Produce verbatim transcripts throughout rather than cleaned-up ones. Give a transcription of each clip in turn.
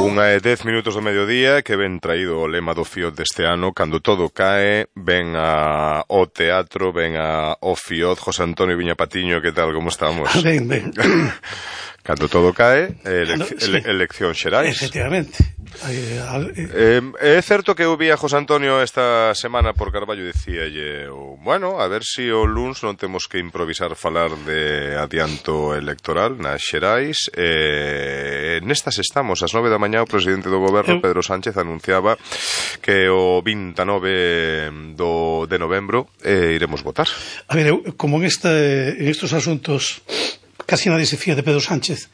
Unha é dez minutos do mediodía, que ben traído o lema do Fiot deste ano. Cando todo cae, ven a, o teatro, ven a, o Fiot. José Antonio Viña Patiño, que tal, como estamos? Ben, ben. Cando todo cae, elec sí. ele eleccións xerais. Efectivamente. Eh, é certo que eu vi a José Antonio esta semana por Carballo e dicíalle, bueno, a ver se si o luns non temos que improvisar falar de adianto electoral nas xerais. Eh, nestas estamos, ás nove da mañá o presidente do goberno, Pedro Sánchez, anunciaba que o vinte e nove do, de novembro eh, iremos votar. A ver, eu, como en, este, en estos asuntos casi nadie se fía de Pedro Sánchez,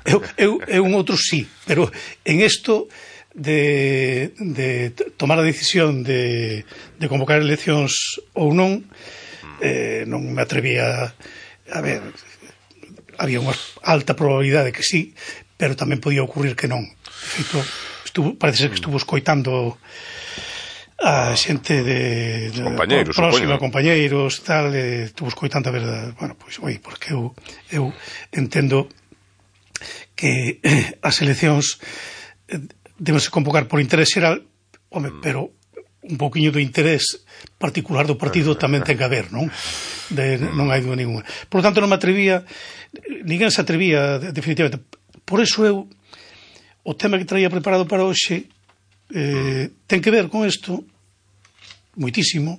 eu, eu, eu un outro sí, pero en isto de, de tomar a decisión de, de convocar eleccións ou non, eh, non me atrevía a ver, había unha alta probabilidade que sí, pero tamén podía ocurrir que non. De feito, estuvo, parece ser que estuvo escoitando a xente de, de compañeiros, próxima, compañeiros, tal, eh, estuvo escoitando a verdade. Bueno, pois, oi, porque eu, eu entendo que eh, as eleccións eh, debense convocar por interés xeral, home, pero un pouquiño do interés particular do partido tamén ten que haber, non? De, non hai dúda ninguna. Por lo tanto, non me atrevía, ninguén se atrevía, definitivamente. Por eso eu, o tema que traía preparado para hoxe, eh, ten que ver con isto, moitísimo,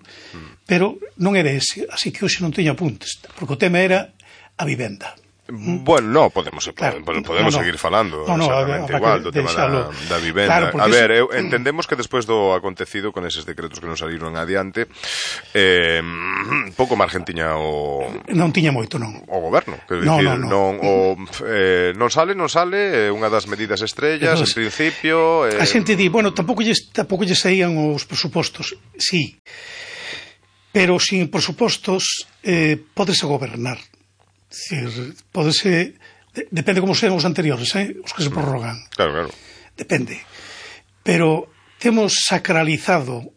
pero non era ese, así que hoxe non teño apuntes, porque o tema era a vivenda. Bueno, no, podemos, claro, podemos no, no. seguir falando no, no, exactamente a, a, igual do tema da, da vivenda. Claro, a ver, eu, entendemos que despois do acontecido con eses decretos que nos saliron adiante, eh, pouco margen tiña o... Non tiña moito, non. O goberno, quero no, dicir, no, no. non, o, eh, non sale, non sale, unha das medidas estrellas, entonces, en principio... Eh... A xente di, bueno, tampouco lles, tampouco lles saían os presupostos, sí, pero sin presupostos eh, pódese gobernar. Decir, podese, de, depende como sean os anteriores, eh? Os que se prorrogan. Claro, claro. Depende. Pero temos sacralizado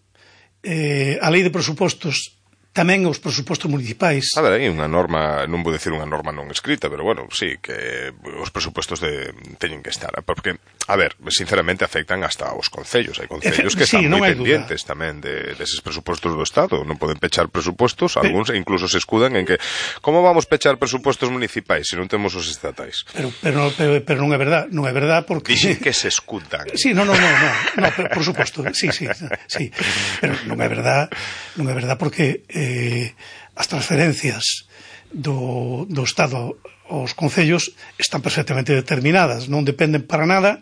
eh, a lei de presupostos, tamén os presupostos municipais. A ver, hai unha norma, non vou decir unha norma non escrita, pero bueno, sí, que os presupostos de, teñen que estar, porque, a ver, sinceramente afectan hasta os concellos, hai concellos que sí, están moi pendientes duda. tamén de, deses presupostos do Estado, non poden pechar presupostos, pero, algúns incluso se escudan en que, como vamos pechar presupostos municipais se non temos os estatais? Pero, pero, pero, pero non é verdad, non é verdad porque... Dixen que se escudan. Sí, non, non, non, non, no, pero, por suposto, sí, sí, sí, pero non é verdad, non é verdad porque... Eh, as transferencias do, do Estado aos concellos están perfectamente determinadas, non dependen para nada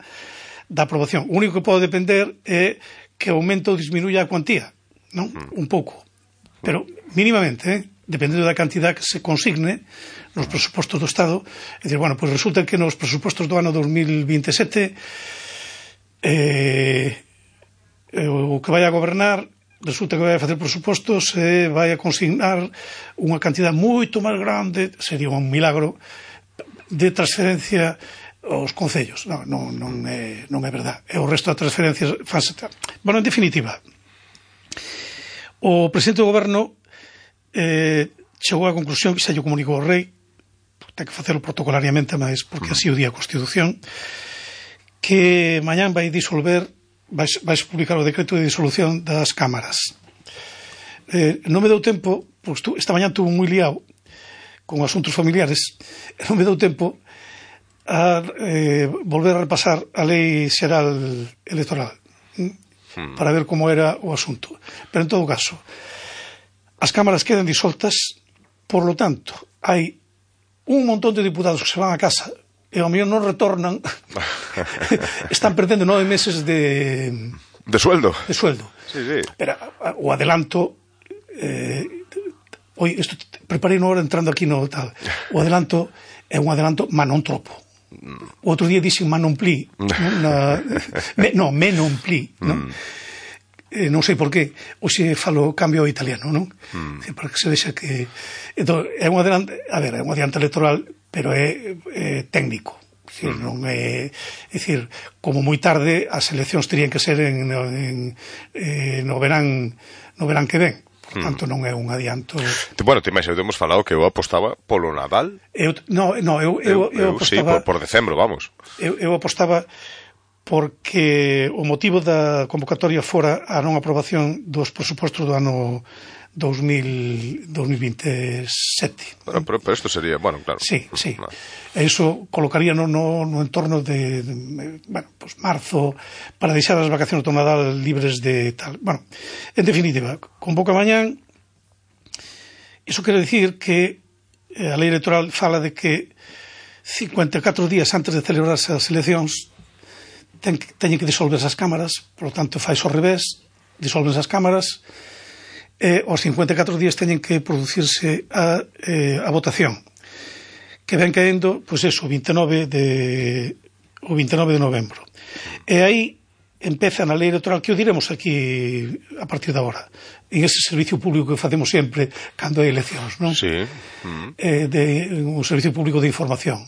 da aprobación. O único que pode depender é que aumente ou disminuya a cuantía, non? Un pouco, pero mínimamente, eh? Dependendo da cantidad que se consigne nos presupostos do Estado. É dicir, bueno, pois pues resulta que nos presupostos do ano dos mil vinte e sete eh, o que vai a gobernar resulta que vai a facer presupostos e vai a consignar unha cantidad moito máis grande, sería un milagro, de transferencia aos concellos. Non, non, non, é, non é verdad. E o resto das transferencias fanse... Bueno, en definitiva, o presidente do goberno eh, chegou á conclusión que xa lle comunicou o rei, ten que facelo protocolariamente, mas porque así o di a Constitución, que mañán vai disolver vais, vais publicar o decreto de disolución das cámaras. Eh, non me deu tempo, porque estu, esta mañá tuve moi liado con asuntos familiares, non me deu tempo a eh, volver a repasar a lei xeral electoral hmm. para ver como era o asunto. Pero en todo caso, as cámaras quedan disoltas, por lo tanto, hai un montón de diputados que se van a casa e ao mellor non retornan, están perdendo nove meses de... De sueldo. De sueldo. Sí, sí. Pero o adelanto... Eh, oi, isto preparei no hora entrando aquí no tal. O adelanto é un adelanto, ma non tropo. O outro día dixen ma non pli. Na, me, no, me non pli. Non? Eh, non sei por qué. Oxe falo cambio ao italiano, non? Mm. Para que se vexa que... Entón, é un adelanto... A ver, é un adelanto electoral, pero é, é técnico. É dicir, mm. non é, é dicir, como moi tarde as eleccións terían que ser en, en, en no verán no verán que ven. Por tanto, non é un adianto... Bueno, te imaginas, temos falado que eu apostaba polo Nadal. Eu, no, no, eu, eu, eu, eu apostaba... Sí, por, por decembro, vamos. Eu, eu apostaba porque o motivo da convocatoria fora a non aprobación dos presupostos do ano dos mil veintesete. Bueno, pero, pero isto sería, bueno, claro. Sí, sí. No. E iso colocaría no, no, no entorno de, de, bueno, pues marzo, para deixar as vacacións do Nadal libres de tal. Bueno, en definitiva, convoca mañán. Iso quere dicir que a lei electoral fala de que cincuenta e catro días antes de celebrarse as eleccións ten, teñen que disolverse as cámaras, por lo tanto fais ao revés, disolvense as cámaras, e aos cincuenta e catro días teñen que producirse a, eh, a votación, que ven caendo, pois eso, o vinte e nove de o vinte e nove de novembro. E aí empeza na lei electoral, que o diremos aquí a partir de agora, en ese servicio público que facemos sempre cando hai eleccións, non? Sí. Mm. Eh, de un servicio público de información.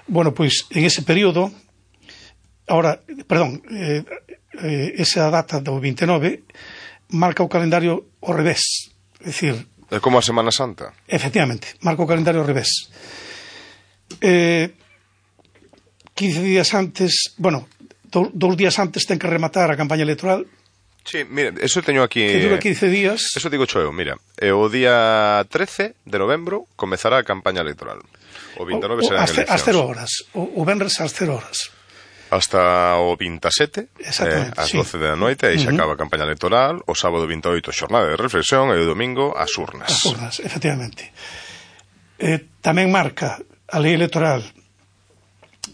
Bueno, pois en ese período, ahora, perdón, eh, eh, esa data do vinte e nove marca o calendario ao revés, é dicir, É como a Semana Santa. Efectivamente, marca o calendario ao revés. Eh, quince días antes, bueno, do, dous días antes ten que rematar a campaña electoral. Sí, mira, eso teño aquí... Que dura quince días. Eso digo cho eu, mira. E o día trece de novembro comezará a campaña electoral. O vinte e nove serán eleccións. Ás cero horas. O, o venres ás cero horas. Hasta o vinte e sete, eh, ás doce da noite, aí se acaba a campaña electoral. O sábado vinte e oito, xornada de reflexión, e o domingo, as urnas. As urnas, efectivamente. Eh, tamén marca a lei electoral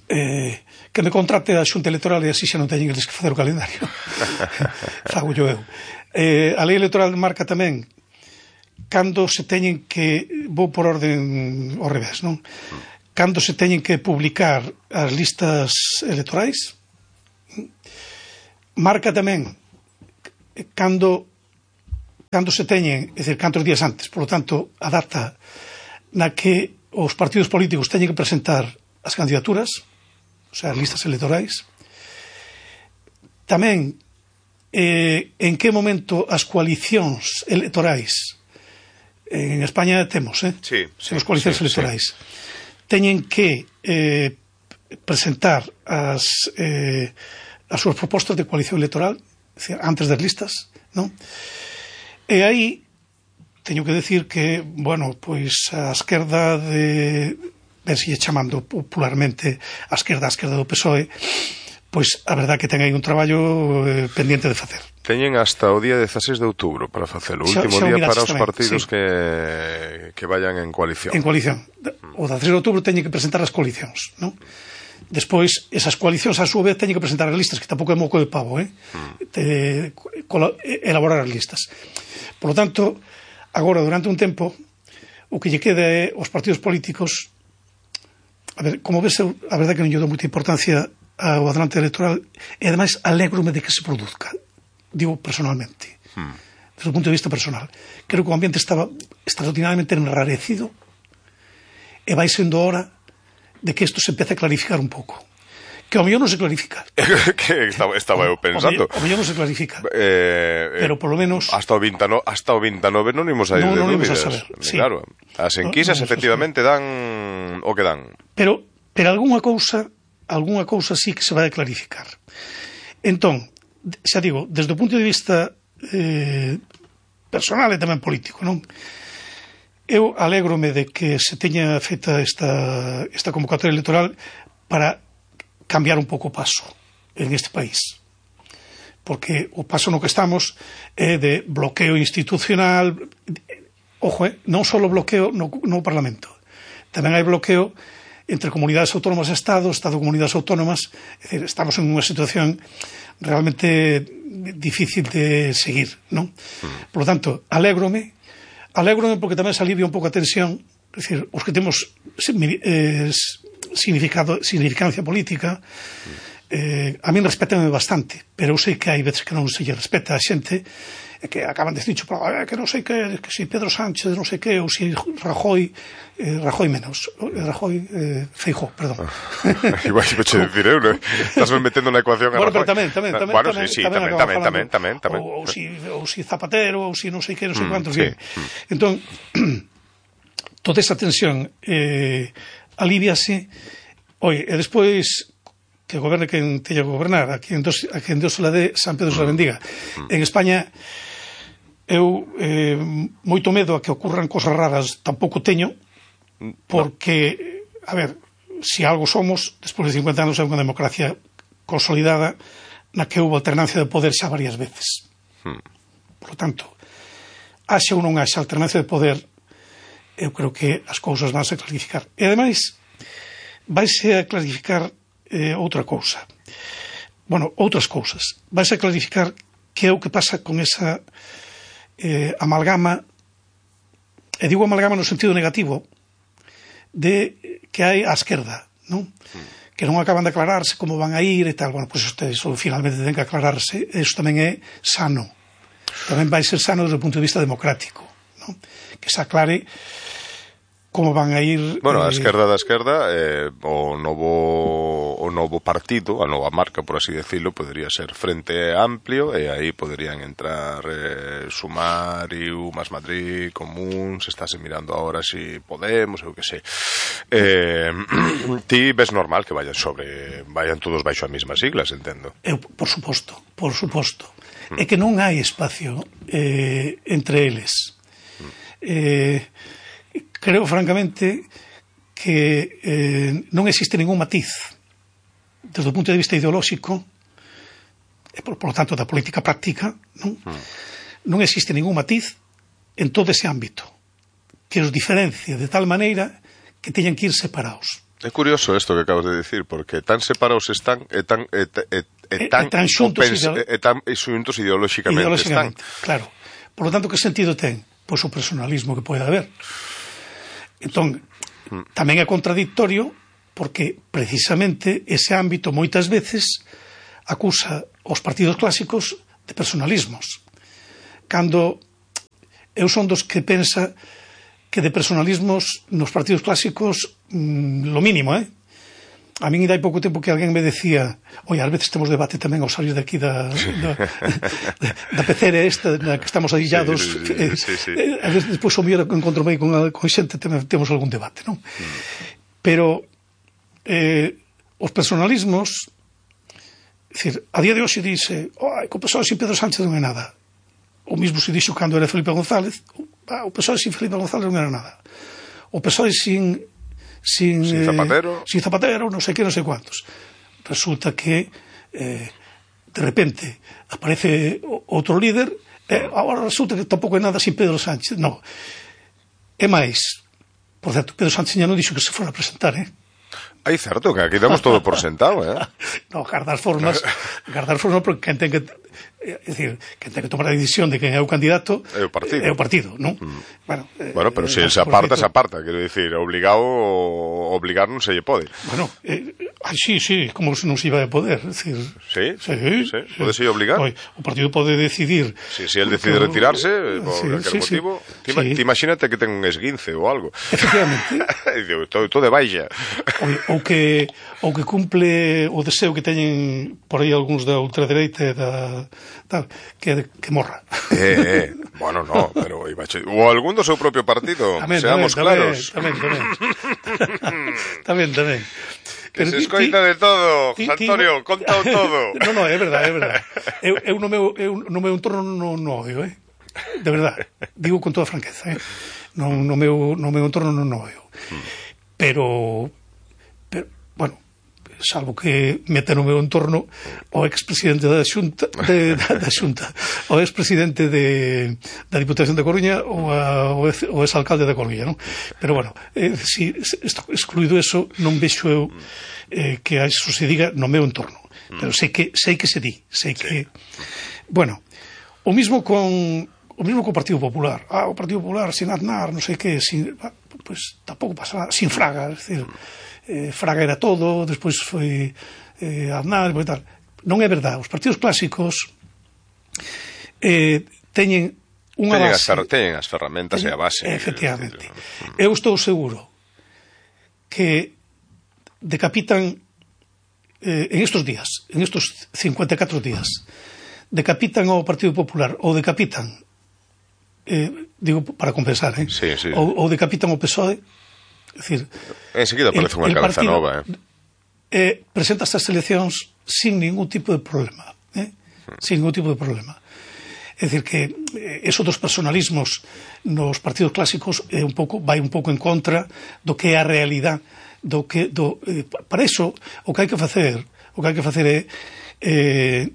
eh, que me contrate a Xunta Electoral e así xa non teñen eles que facer o calendario. Fago yo eu. Eh, a lei electoral marca tamén cando se teñen que, vou por orden ao revés, non? Cando se teñen que publicar as listas electorais. Marca tamén cando cando se teñen, é dicir, cantos días antes, por lo tanto, a data na que os partidos políticos teñen que presentar as candidaturas, o sea, as listas electorais. Tamén eh, en que momento as coalicións electorais, en España temos, eh? Sí, sí, as coalicións sí, electorais, sí. teñen que eh, presentar as, eh, as súas propostas de coalición electoral, decir, antes das listas, non? E aí teño que decir que, bueno, pois a esquerda de, ben sigue chamando popularmente a esquerda, a esquerda do P S O E, pois a verdad que ten aí un traballo eh, pendiente de facer. Teñen hasta o día dezaseis de outubro para facelo, o último xa, xa día para os tamén, partidos sí. que, que vayan en coalición. En coalición. O dezaseis de outubro teñen que presentar as coalicións, non? Despois, esas coalicións a súa vez teñen que presentar as listas, que tampouco é moco de pavo, eh? Mm. De, elaborar as listas. Por lo tanto, agora, durante un tempo, o que lle queda é os partidos políticos. A ver, como ves, a verdade que non lle dou moita importancia ao adelante electoral, e ademais alégrome de que se produzca, digo personalmente, hmm. desde o punto de vista personal. Creo que o ambiente estaba extraordinariamente enrarecido e vai sendo hora de que isto se empece a clarificar un pouco. Que ao mellor non se clarifica. Que estaba, estaba eu pensando. O mellor non se clarifica. Eh, pero por lo menos... Hasta o vinte e nove, hasta o vinte e nove non imos a ir no, de non dúbidas. Non imos a saber, sí. Claro, as enquisas no, no efectivamente dan o que dan. Pero, pero algunha cousa, algunha cousa sí que se vai a clarificar. Entón, xa digo, desde o punto de vista eh, personal e tamén político, non? Eu alégrome de que se teña feita esta, esta convocatoria electoral para cambiar un pouco o paso en este país. Porque o paso no que estamos é de bloqueo institucional. Ojo, eh, non só bloqueo no, no Parlamento. Tamén hai bloqueo entre comunidades autónomas e Estado, Estado e comunidades autónomas. É dicir, estamos en unha situación realmente difícil de seguir, non? Por lo tanto, alégrome, alégrome porque tamén se alivia un pouco a tensión, é dicir, os que temos eh, significado, significancia política, eh, a min respétame bastante, pero eu sei que hai veces que non se lle respeta a xente, que acaban de decir, que non sei que, que si Pedro Sánchez, non sei que, ou si Rajoy, eh, Rajoy menos, Rajoy, eh, Feijóo, perdón. Igual se peche decir eu, non? Estás me metendo na ecuación a Rajoy. Bueno, pero tamén, tamén, tamén, bueno, tamén, sí, sí, tamén, tamén, tamén, tamén, tamén, tamén. Ou, ou, si, ou si Zapatero, ou si non sei que, non sei mm, cuántos, sí. bien. Entón, toda esa tensión eh, aliviase, oi, e despois que goberne quen teña que gobernar, a quen Dios, a quen Dios se la dé, San Pedro se la bendiga. En España eu eh, moito medo a que ocurran cosas raras tampouco teño, porque, a ver, se si algo somos, despois de cincuenta anos é unha democracia consolidada na que houve alternancia de poder xa varias veces. Hmm. Por lo tanto, haxa ou non haxa alternancia de poder, eu creo que as cousas vanse a clarificar. E, ademais, vaise a clarificar eh, outra cousa. Bueno, outras cousas. Vaise a clarificar que é o que pasa con esa eh, amalgama, e digo amalgama no sentido negativo, de que hai á esquerda, non? Mm. Que non acaban de aclararse como van a ir e tal. Bueno, pois pues isto finalmente ten que aclararse. Isto tamén é sano. Tamén vai ser sano desde o punto de vista democrático, non? Que se aclare como van a ir... Bueno, a esquerda da esquerda, eh, o novo o novo partido, a nova marca, por así decirlo, podería ser Frente Amplio, e aí poderían entrar eh, Sumariu, Más Madrid, Común, se estase mirando ahora si Podemos, eu que sei. Eh, ti ves normal que vayan sobre, vayan todos baixo a mesmas siglas, entendo. Eu, por suposto, por suposto. Mm. É que non hai espacio eh, entre eles. Mm. Eh... Creo, francamente, que eh, non existe ningún matiz desde o punto de vista ideolóxico e, por, por lo tanto, da política práctica, non? Mm. Non existe ningún matiz en todo ese ámbito que os diferencie de tal maneira que teñan que ir separados. É curioso isto que acabas de decir, porque tan separados están e tan, e, e, e, tan, e, tan xuntos, pense, ideolo... e tan xuntos ideolóxicamente, ideolóxicamente están. Claro. Por lo tanto, que sentido ten? Pois o personalismo que pode haber. Entón, tamén é contradictorio porque precisamente ese ámbito moitas veces acusa os partidos clásicos de personalismos, cando eu son dos que pensa que de personalismos nos partidos clásicos mmm, lo mínimo, eh? A min hai pouco tempo que alguén me decía, oi, ás veces temos debate tamén ao salir daqui da, da, da pecera esta na que estamos adillados, sí, sí, sí, sí. Eh, a veces despois o mellor encontro mei con, con xente temos algún debate, non? Mm. Pero eh, os personalismos, decir, a día de hoxe dice, oi, co pessoal sin Pedro Sánchez non é nada. O mismo se dixo cando era Felipe González, ah, o pessoal sin Felipe González non era nada. O pessoal sin Sin, sin Zapatero, eh, sin Zapatero, non sei que, non sei cuantos. Resulta que eh, de repente aparece outro líder e agora resulta que tampouco é nada sin Pedro Sánchez. No. É máis, por certo, Pedro Sánchez ya non dixo que se fora a presentar, eh? Aí certo, que aquí damos todo por sentado, eh? No, guardar formas, guardar formas porque quen ten que, é dicir, quen ten que tomar a decisión de quen é o candidato é o partido, é o partido, non? Mm. Bueno, eh, bueno, pero se se aparta, se aparta, quero dicir, obligado, obligar non se lle pode. Bueno, eh, ay, sí, sí, como se non se iba a poder, decir, sí, sí, sí, sí. Pode se obligar. Oi, o partido pode decidir. Si, si el decide que, retirarse por sí, aquel sí, motivo, sí. Ti, sí. Ti imagínate que ten un esguince ou algo. Efectivamente. todo, todo de baixa. Ou, ou que ou que cumple o deseo que teñen por aí algúns da ultradereita e da tal, que, que morra. Eh, eh, bueno, no, pero ou algún do seu propio partido, tamén, seamos tamén, claros. Tamén, tamén, tamén. tamén. Que pero se escoita ti, de todo, ti, Antonio, ti, contao todo. No, no, é verdade, é verdade. Eu, eu no meu, eu, no meu entorno non no odio, eh? De verdade. Digo con toda franqueza, eh? No, no, meu, no meu entorno non no odio. Pero, pero, bueno, salvo que meta no meu entorno o expresidente da Xunta, de, da, da Xunta, o expresidente de, da Diputación de Coruña ou a, o, ex, o exalcalde de Coruña, non? Pero, bueno, eh, si, excluído eso, non vexo eu eh, que eso se diga no meu entorno. Pero sei que, sei que se di, sei que... Bueno, o mismo con... O mismo co Partido Popular. Ah, o Partido Popular sin Aznar, non sei que, sin... Pues tampouco pasa nada. Sin Fraga, é dicir... Eh, Fraga era todo, despois foi eh, Aznar, e tal. Non é verdade. Os partidos clásicos eh, teñen unha teñen base... As teñen as ferramentas teñen, e a base. Efectivamente. Eu estou seguro que decapitan eh, en estos días, en estos cincuenta e catro días, decapitan ao Partido Popular ou decapitan eh, digo para compensar, eh? Sí, sí. Ou, ou decapitan o P S O E, é dicir, enseguida aparece unha cabeza nova, eh? eh, presenta estas eleccións sin ningún tipo de problema, eh? sin ningún tipo de problema. É dicir que eso dos personalismos nos partidos clásicos é un pouco, vai un pouco en contra do que é a realidade, do que do, eh, para eso o que hai que facer, o que hai que facer é eh,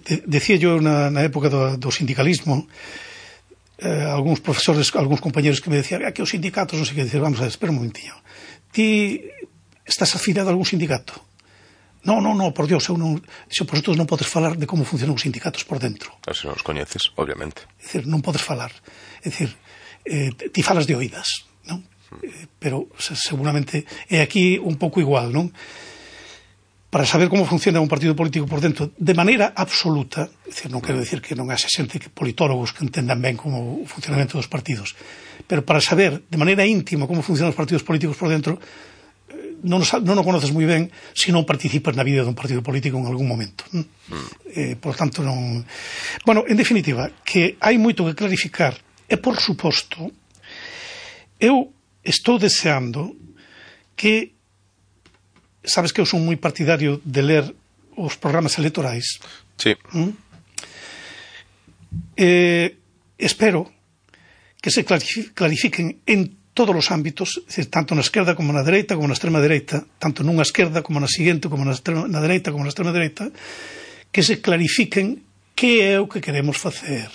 de, decía yo na, na época do, do sindicalismo, eh, algúns profesores, algúns compañeros que me decían que os sindicatos non sei que, decir, vamos a ver, espera un momentinho, ti estás afiliado a algún sindicato? No, no, no, por Dios, eu non, se por outros non podes falar de como funcionan os sindicatos por dentro. Se non os coñeces, obviamente. É dicir, non podes falar. É dicir, eh, ti falas de oídas, non? Eh, pero seguramente é aquí un pouco igual, non? Para saber como funciona un partido político por dentro de maneira absoluta, é dicir, non quero dicir que non haxe xente, que politólogos que entendan ben como o funcionamento dos partidos, pero para saber de maneira íntima como funcionan os partidos políticos por dentro, non o conoces moi ben se non participas na vida dun partido político en algún momento. Mm. Eh, por tanto, non... Bueno, en definitiva, que hai moito que clarificar e, por suposto, eu estou deseando que... Sabes que eu son moi partidario de ler os programas electorais. Sí. Mm? Eh, espero que se clarifiquen en todos os ámbitos, é dicir, tanto na esquerda como na dereita, como na extrema dereita, tanto nunha esquerda como na seguinte, como na, extrema, na dereita como na extrema dereita, que se clarifiquen que é o que queremos facer.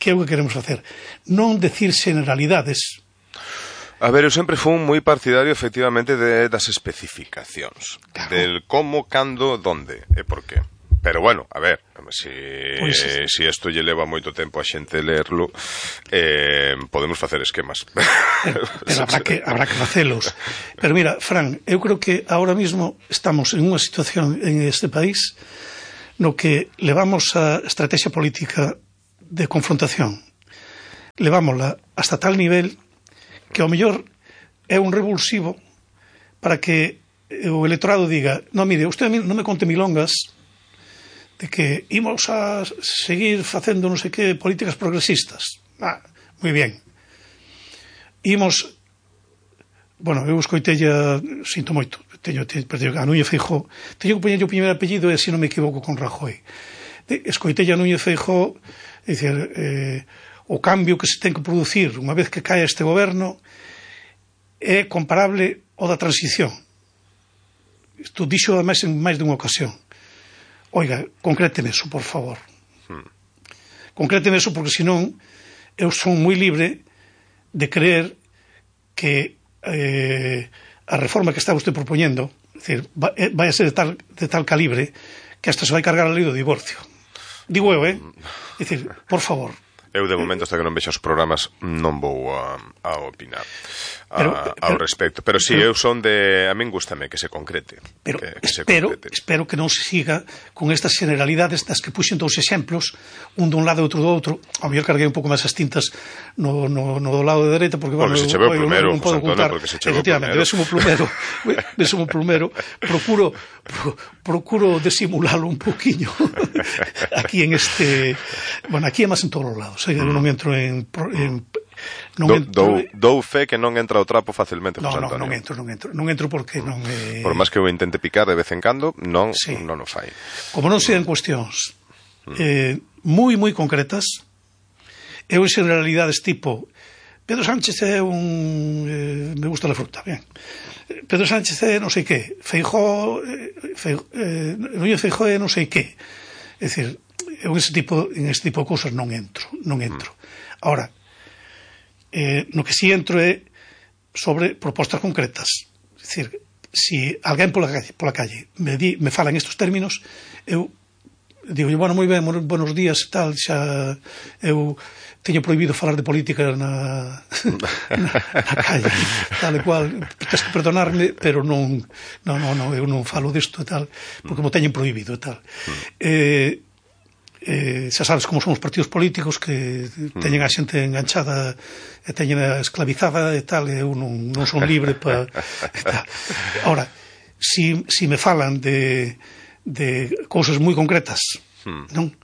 Que é o que queremos facer. Non decir generalidades. A ver, eu sempre fui moi partidario, efectivamente, de, das especificacións. Claro. Del como, cando, donde e por qué. Pero bueno, a ver, si, pues, eh, si esto lle leva moito tempo a xente lerlo, eh, podemos facer esquemas. Pero, pero habrá, que, habrá que facelos. Pero mira, Fran, eu creo que ahora mismo estamos en unha situación en este país no que levamos a estrategia política de confrontación. Levámosla hasta tal nivel que ao mellor é un revulsivo para que o electorado diga, no, mire, usted non me conte milongas de que ímos a seguir facendo non sei que políticas progresistas. Ah, moi bien. Ímos, bueno, eu escoitella, sinto moito, teño, teño, a Núñez Feijóo, teño que poñer o primeiro apellido e, se non me equivoco, con Rajoy. Escoitella a Núñez Feijóo, dicir, eh, o cambio que se ten que producir unha vez que cae este goberno é comparable ao da transición. Isto dixo ademais en máis dunha ocasión. Oiga, concréteme eso, por favor. Hmm. Concréteme eso, porque senón eu son moi libre de creer que eh, a reforma que está usted propoñendo, é dicir, vai a ser de tal, de tal calibre que hasta se vai cargar a lei do divorcio. Digo eu, eh? É dicir, por favor. Eu, de momento, hasta que non vexo os programas, non vou a, a opinar a, pero, ao pero, respecto. Pero si, sí, eu son de... A min gústame que se concrete. Pero que, que espero, se concrete. espero que non se siga con estas generalidades das que puxen dous exemplos, un dun lado e outro do outro. Ao mellor carguei un pouco máis as tintas no, no, no do lado de dereita, porque, porque bueno, se cheveu eu, plumero, non podo ocultar. Porque se cheveu efectivamente, ves un plumero, ves un plumero, procuro, pro, procuro disimularlo un poquinho aquí en este... Bueno, aquí é máis en todos os lados, eu non entro en... en non do, entro, dou, dou fe que non entra o trapo facilmente, no, José no, Antonio. non entro, non entro, non entro porque non é... Por máis que eu intente picar de vez en cando, non, sí. non o fai. Como non sean cuestións eh, moi, moi concretas, eu en generalidades tipo Pedro Sánchez é un... Eh, me gusta la fruta, bien. Pedro Sánchez é non sei que, Feijóo, Feijóo eh, Núñez Feijóo é non sei que. É dicir, eu en ese tipo, en ese tipo de cousas non entro, non entro. Ahora, eh, no que si entro é sobre propostas concretas. É dicir, si alguén pola calle, pola calle me, di, me fala en estes términos, eu digo, bueno, moi ben, buenos días, tal, xa eu teño prohibido falar de política na, na, na calle, tal e cual, tens que perdonarme, pero non, non, non, non, eu non falo disto e tal, porque mo teñen prohibido e tal. Eh, eh, xa sabes como son os partidos políticos que teñen a xente enganchada e teñen a esclavizada e tal, e eu non, non son libre pa, e tal. Ahora, si, si me falan de, de cousas moi concretas, non?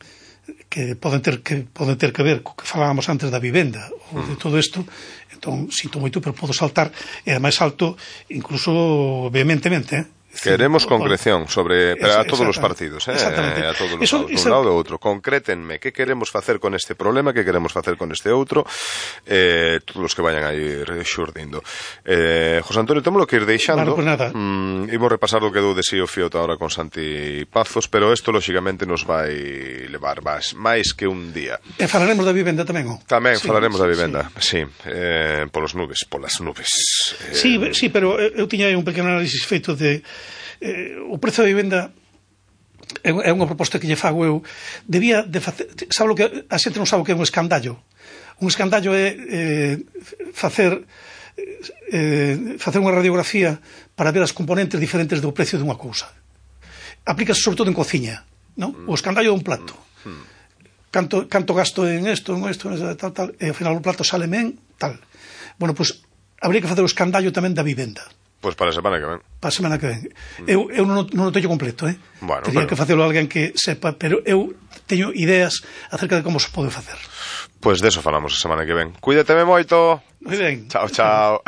Que poden ter que poden ter que ver co que falábamos antes da vivenda ou de todo isto, entón sinto moito, pero podo saltar, e ademais salto incluso vehementemente, eh? Queremos concreción sobre Eso, a todos os partidos, eh? Exactamente. A todos os Eso, lados, eso... un lado e outro. Concrétenme que queremos facer con este problema, que queremos facer con este outro, eh, todos os que vayan a ir xurdindo. Eh, José Antonio, témolo que ir deixando. Claro, pues nada. Mm, imos repasar o que dou de sí o Fioto ahora con Santi Pazos, pero isto, lóxicamente, nos vai levar máis, máis que un día. E falaremos da vivenda tamén, o? Tamén sí, falaremos sí, da vivenda, sí, sí eh, polos nubes, polas nubes. Eh... Sí, sí, pero eu tiña aí un pequeno análisis feito de eh, o prezo da vivenda é, é unha proposta que lle fago eu. Debía de facer, sabe o que a xente non sabe o que é un escandallo. Un escandallo é eh, facer eh, facer unha radiografía para ver as componentes diferentes do precio dunha cousa. Aplícase sobre todo en cociña, non? O escandallo dun plato. Canto, canto gasto en isto, en isto, en isto, tal, tal, e ao final o plato sale men, tal. Bueno, pois, pues, habría que facer o escandallo tamén da vivenda. Pois pues para a semana que ven. Para a semana que ven. Mm. Eu, eu non, non o teño completo, eh? Bueno, Tería pero... que facelo alguén que sepa, pero eu teño ideas acerca de como se pode facer. Pois pues deso falamos a semana que ven. Cuídateme moito. Moi ben. Chao, chao.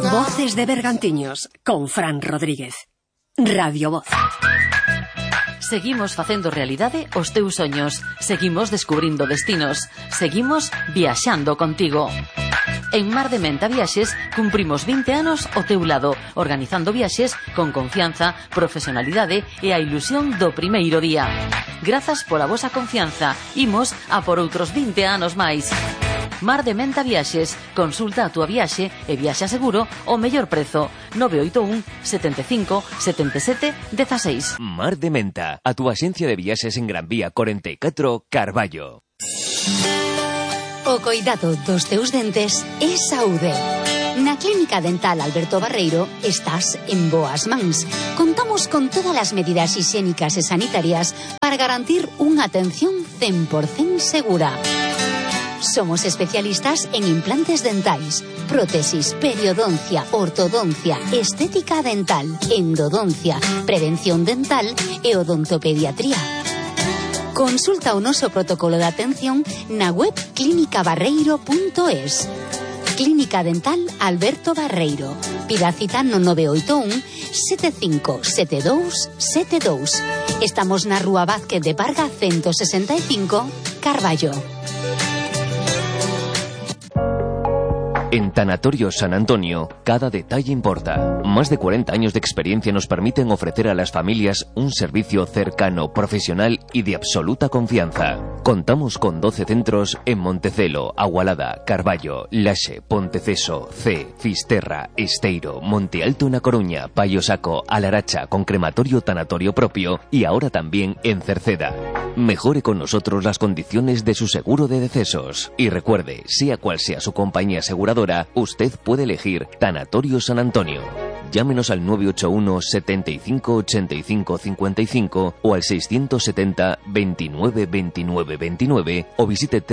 Voces de Bergantiños con Fran Rodríguez. Radio Voz. Seguimos facendo realidade os teus soños. Seguimos descubrindo destinos. Seguimos viaxando contigo. En Mar de Menta Viaxes cumprimos vinte anos ao teu lado, organizando viaxes con confianza, profesionalidade e a ilusión do primeiro día. Grazas pola vosa confianza. Imos a por outros vinte anos máis. Mar de Menta Viaxes. Consulta a túa viaxe e viaxa seguro ao mellor prezo. nove oito un, sete cinco, sete sete, un seis. Mar de Menta, a túa axencia de viaxes en Gran Vía cuarenta y cuatro, Carballo. O coidado dos teus dentes é saúde. Na Clínica Dental Alberto Barreiro estás en boas mans. Contamos con todas as medidas higiénicas e sanitarias para garantir unha atención cen por cento segura. Somos especialistas en implantes dentais, prótesis, periodoncia, ortodoncia, estética dental, endodoncia, prevención dental e odontopediatría. Consulta o noso protocolo de atención na web clínica barreiro punto es. Clínica Dental Alberto Barreiro. Pida cita no nove oito un, sete cinco sete dous sete dous. Estamos na Rúa Vázquez de Parga ciento sesenta e cinco, Carballo. En Tanatorio San Antonio, cada detalle importa. Más de cuarenta años de experiencia nos permiten ofrecer a las familias un servicio cercano, profesional y de absoluta confianza. Contamos con doce centros en Montecelo, Agualada, Carballo, Laxe, Ponteceso, C, Fisterra, Esteiro, Monte Alto na Coruña, Paio Saco, Alaracha, con crematorio tanatorio propio y ahora también en Cerceda. Mejore con nosotros las condiciones de su seguro de decesos. Y recuerde, sea cual sea su compañía aseguradora, usted puede elegir Tanatorio San Antonio. Llámenos al nueve ocho uno, setenta y cinco, ochenta y cinco, cincuenta y cinco o al seiscientos setenta, veintinueve, veintinueve, veintinueve o visite doble